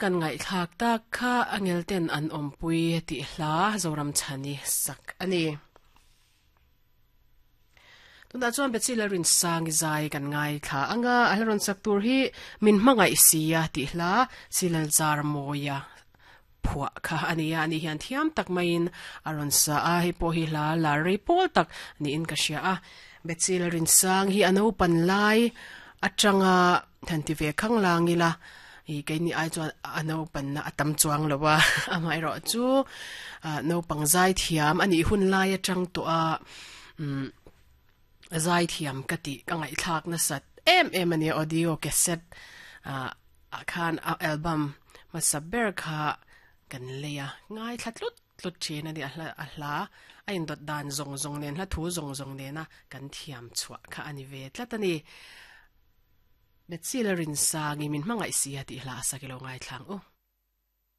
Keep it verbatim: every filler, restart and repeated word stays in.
Kan ngai thlak tak kha angel ten an awmpui tih hla Zoram chhani sak ani. Tuna chuan Betsy Lalrin sangi zai kan ngai thla anga a hla rawn sak tur hi min hmangaih sia tih hla Silal zar mawia phuah kha ania ani hian thiam tak maiin a rawn sa a hei pawh hi hla lar rei pawl tak niin ka hria a Betsy Lalrin sang hi a naupan lai atanga han ti ve khang lang ila i keini ai chuan a naupan na a tam chuang lo a amaherawh chu naupang zai thiam ani hun lai atang tawh a um zai thiam ka ti ka ngai thlak na sat em em ani audio cassette a a khan a album ma saber kha kan leia ngai thlatlut tlut thin ani a hla a hla a in dot dan zong zong nen hla thu zong zong nena kan thiam chhuah kha ani ve tlat ani Betsy Lalrin sangi min hmangaih sia tih hla sakilo ngai thlang u.